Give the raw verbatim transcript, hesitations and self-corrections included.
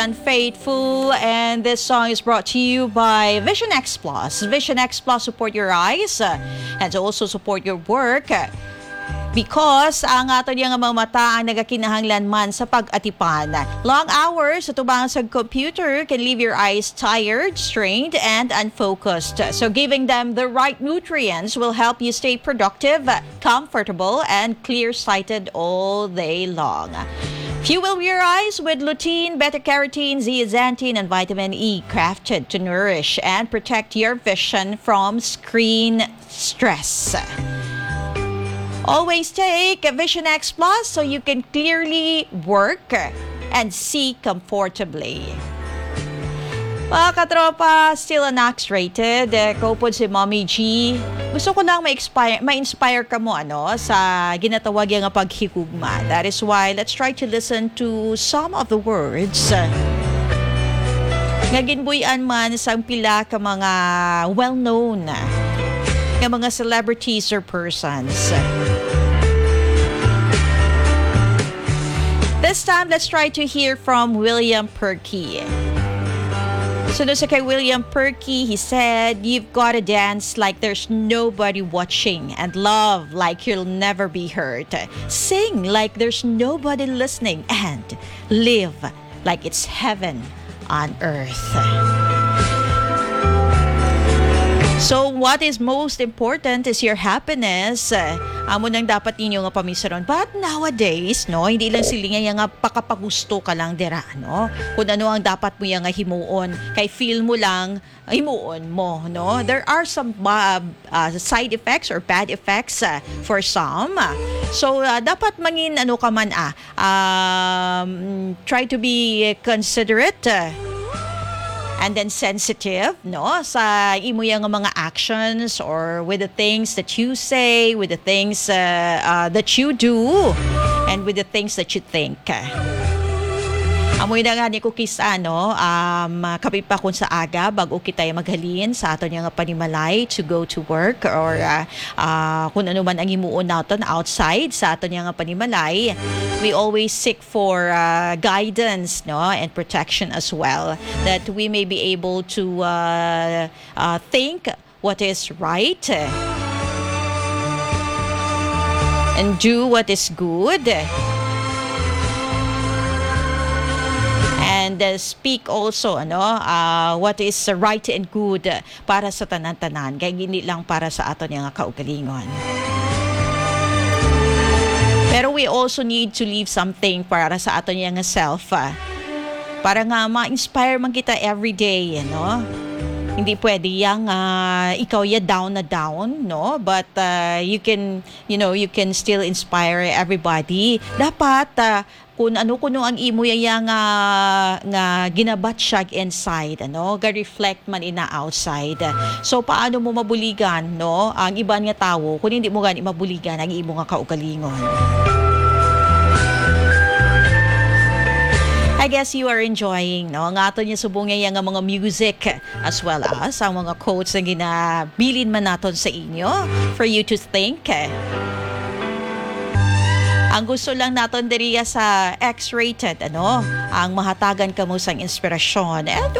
and Faithful, and this song is brought to you by Vision X Plus. Vision X Plus, support your eyes, uh, and also support your work, uh, because ang aton nga mga mata ang nagakinahanglan man sa pag-atipan. Long hours sa tubang sa computer can leave your eyes tired, strained, and unfocused. So giving them the right nutrients will help you stay productive, comfortable, and clear-sighted all day long. Fuel your eyes with lutein, beta-carotene, zeaxanthin, and vitamin E, crafted to nourish and protect your vision from screen stress. Always take Vision X Plus so you can clearly work and see comfortably. Mga katropa, still an X-rated. Eh, kaupod si Mommy G. Gusto ko lang ma-expire, ma-inspire ka mo, ano, sa ginatawag nga paghigugma. That is why let's try to listen to some of the words, uh, nga ginbuy-an man sang pila ka mga well-known nga mga celebrities or persons. This time, let's try to hear from William Perky. So, no, sa kay William Perky, he said, "You've got to dance like there's nobody watching and love like you'll never be hurt. Sing like there's nobody listening and live like it's heaven on earth." So, what is most important is your happiness. Amo nang dapat ninyo nga pamisaron. But nowadays, no, hindi lang sila nga, nga pakapagusto ka lang dira, no? Kung ano ang dapat mo nga himuon, kay feel mo lang, himuon mo, no? There are some, uh, uh, side effects or bad effects, uh, for some. So, uh, dapat mangin ano ka man, ah, um, try to be considerate, uh, and then sensitive, no, sa imo yang mga actions or with the things that you say, with the things, uh, uh, that you do, and with the things that you think. Amoy na nga ni ko kis-, ano, um, kapi pa kun sa aga, bago kita maghalin sa aton nga panimalay to go to work or, uh, uh, kung ano man ang himuon naton outside sa aton nga panimalay, we always seek for, uh, guidance, no, and protection as well, that we may be able to, uh, uh, think what is right and do what is good and, uh, speak also, ano, uh, what is right and good para sa tanan-tanan, kay hindi lang para sa aton nga kaugalingon. Pero we also need to leave something para sa aton nga self, ah, para nga ma-inspire man kita every day, no? Hindi pwede yang, ah, ikaw ya down na down, no? But, ah, you can, you know, you can still inspire everybody. Dapat, ah, kung ano kuno ang imo yaya nga, nga ginabatyag inside, ano, ga-reflect man ina outside. So, paano mo mabuligan, no, ang iban nga tawo kung hindi mo gani mabuligan ang imo nga kaugalingon? I guess you are enjoying, no, nga aton niya subong nga mga music, as well as ang mga quotes nga ginabilin man naton sa inyo for you to think. Ang gusto lang naton diriya sa X-rated, ano, ang mahatagan kamo sang inspirasyon and